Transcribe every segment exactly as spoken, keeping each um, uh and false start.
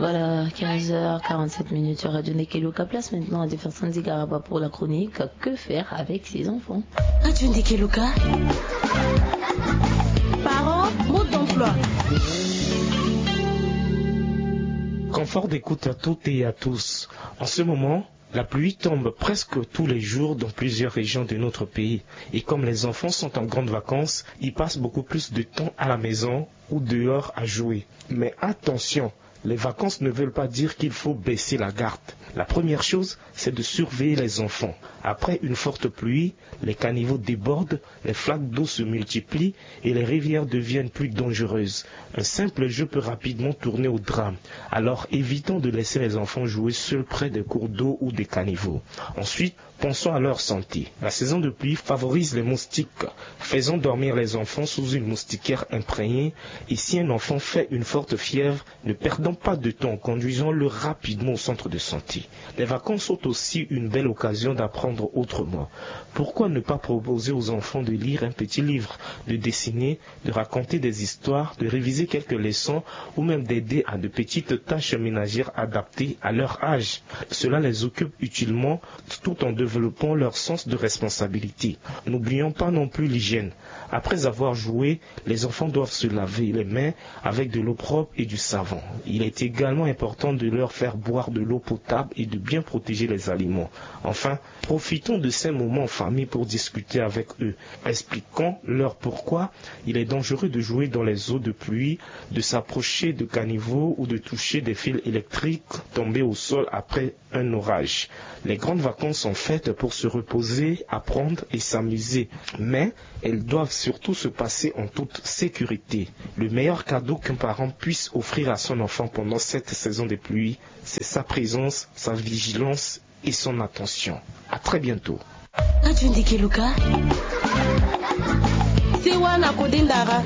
Voilà, quinze heures quarante-sept minutes sur Radio Nekeluka. Place maintenant à Jefferson Zigaraba pour la chronique Que faire avec ses enfants. Radio Nekeluka. Parents, mode d'emploi. Confort d'écoute à toutes et à tous. En ce moment, la pluie tombe presque tous les jours dans plusieurs régions de notre pays. Et comme les enfants sont en grandes vacances, ils passent beaucoup plus de temps à la maison ou dehors à jouer. Mais attention, les vacances ne veulent pas dire qu'il faut baisser la garde. La première chose, c'est de surveiller les enfants. Après une forte pluie, les caniveaux débordent, les flaques d'eau se multiplient et les rivières deviennent plus dangereuses. Un simple jeu peut rapidement tourner au drame. Alors évitons de laisser les enfants jouer seuls près des cours d'eau ou des caniveaux. Ensuite, pensons à leur santé. La saison de pluie favorise les moustiques. Faisons dormir les enfants sous une moustiquaire imprégnée et si un enfant fait une forte fièvre, ne perdons pas de temps, conduisons-le rapidement au centre de santé. Les vacances sont aussi une belle occasion d'apprendre autrement. Pourquoi ne pas proposer aux enfants de lire un petit livre, de dessiner, de raconter des histoires, de réviser quelques leçons ou même d'aider à de petites tâches ménagères adaptées à leur âge ? Cela les occupe utilement tout en développant leur sens de responsabilité. N'oublions pas non plus l'hygiène. Après avoir joué, les enfants doivent se laver les mains avec de l'eau propre et du savon. Il est également important de leur faire boire de l'eau potable et de bien protéger les aliments. Enfin, profitons de ces moments en famille pour discuter avec eux. Expliquons-leur pourquoi il est dangereux de jouer dans les eaux de pluie, de s'approcher de caniveaux ou de toucher des fils électriques tombés au sol après un orage. Les grandes vacances sont faites pour se reposer, apprendre et s'amuser. Mais elles doivent surtout se passer en toute sécurité. Le meilleur cadeau qu'un parent puisse offrir à son enfant pendant cette saison des pluies, c'est sa présence, sa vigilance et son attention. À très bientôt. Aju ndeke luka. Sewa na kode ndara.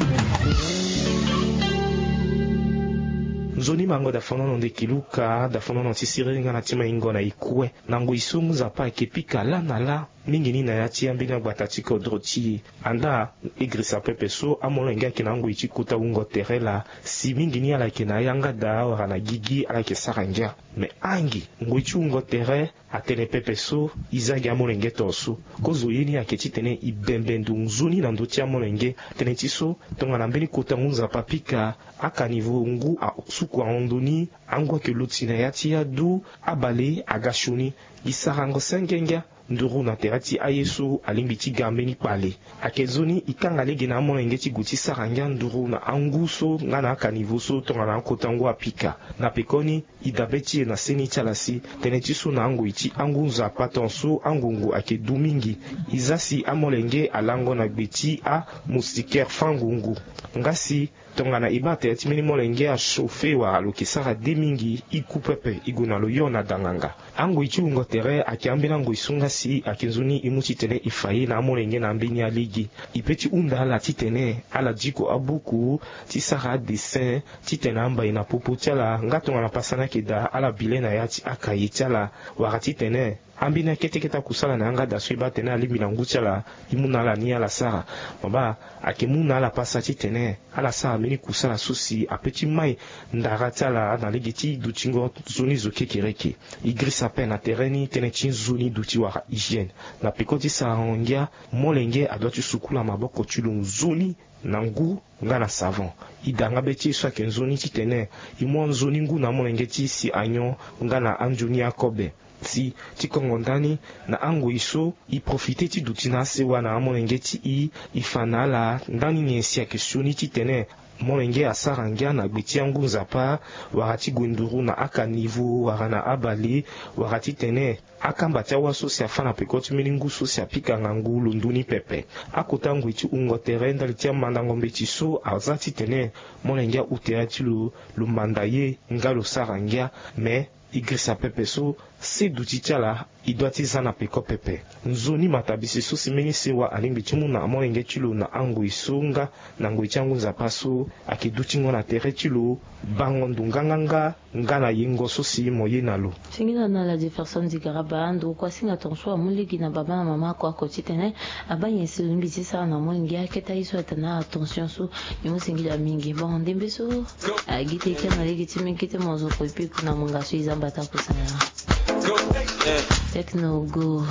Nzoni mango da fono no ndeke luka, da fono no ti siriri nga na ti maingo na ikue. Na ngoi so ngu nzapa ayeke pika lâ na lâ mingi ni na ya ti ambeni agbata ti kodro ti e. Andaa e girisa pepe so amolenge ayeke na angoi ti kota wungo tere laa. Si mingi ni ala yeke na ayanga daa wala na gigi ala yeke sara ngia. Me angi ngoi ti wungo tere atene pepe so e za gi amolenge to so. Kozo ye ni ayeke titene e bembe ndo nzoni na ndö ti amolenge. Tënë ti so tongana mbeni kota ngu nzapa apika akanivo ngu asuku ahon ndo ni. Angu ayeke luti na ya ti adu abale aga sioni. Gi sarango senge ngia nduru na tere ti aye so alingbi ti ga mbeni kpale. Ayeke nzoni e kanga lege na amolenge ti gue ti sara ngia nduru na angu so nga na akanivo so tongana akota ngu apika. Na pekoni e dabe ti e na seni ti ala si tënë ti so na angoi ti angu nzapa ton so angungu ayeke du mingi. E za si amolenge alango na gbe ti amoustiquaire fangungu. Nga si tongana e baa tere ti mbeni molenge achauffe wala lo yeke sara de mingi, e ku pepe e gue na lo yo na danganga. Angoi ti wungo tere ayeke ambeni angoi so nga si ayeke nzoni e mu titene e fa ye na amolenge na ambeni alege. E pe ti hunda ala titene ala diko abuku ti sara adessin titene ambai na popo ti ala nga tongana pasa ni ayeke daa ala bi le na ya ti akaye ti ala. Wala titene ambeni akete kete akusala na yanga daa so e baa atene alingbi na ngu ti ala e mu na ala ni ala sara. Mo baa ayeke mu na ala pasa titene ala sara mbeni kusala so si ape ti mai ndara ti ala na lege ti dutingo nzoni zo kekereke. E girisa ape na tere ni tënë ti nzoni duti wala hygiène. Na peko ti sarango ngia molenge adua ti sukula maboko ti lo nzoni na ngu nga na savon. E daa nga be ti e so ayeke nzoni titene e mu anzoni ngu na amolenge ti e si anyon nga na anzoni akobe. Si ti kongo ndani na angoi so e profite ti duti na asewa na amolenge ti e. E fa na ala ndani nyen si ayeke sioni titene molenge asara ngia na gbe ti angu nzapa wala ti gue nduru na akanivo wala na abale wala titene akamba ti awa so si afâ na peko ti mbeni ngu so si apika ngangu lo ndu ni pepe. Akota ngoi ti wungo tere ndali ti amandango mbeti so aza titene molenge ahu tere ti lo lo manda ye nga lo sara ngia. Me e girisa pepe so se duti ti ala e dua ti za na peko pepe. Nzoni matabisi so si mbeni sewa alingbi ti mu na amolenge ti lo na angoi so nga na ngoi ti angu nzapa so ayeke dutingo na tere ti lo bango ndo nganganga. Nga na yengo so si mo ye na lo. Singila na la Jefferson Zigaraba, ndokua singa tonso amu lege na baba na mama kua ko titene abaa nyen si lungbi ti sara na molenge aketa ye so atene attention so. Ni mo singila mingi. Bon, ndembe so agi te kia na lege ti mbi kete mo zo ko epi kuna mo nga so e za mbata kusana. Techno go.